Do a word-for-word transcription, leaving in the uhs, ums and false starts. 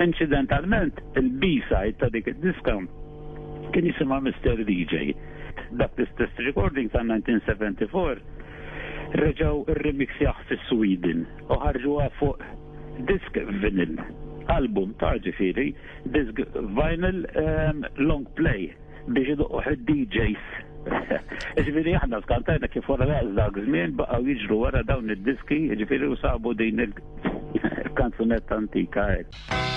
Incidentalment, il-B-side ta' dik id-diska kien jisimha Mister D J. Dak l-istess recording ta' elf disa' mija u erbgħa u sebgħin reġgħu rremixjawh fi Sweden u ħarġuha fuq disk vinyl, album ta' ġifieri, disk vinyl um, long play biex idoqquh id-D Js. Ġifieri aħna skantajna kif wara dak żmien baqgħu jiġru wara dawn id-diski, ġifieri, u sabu din il-kanzunetta antika hekk.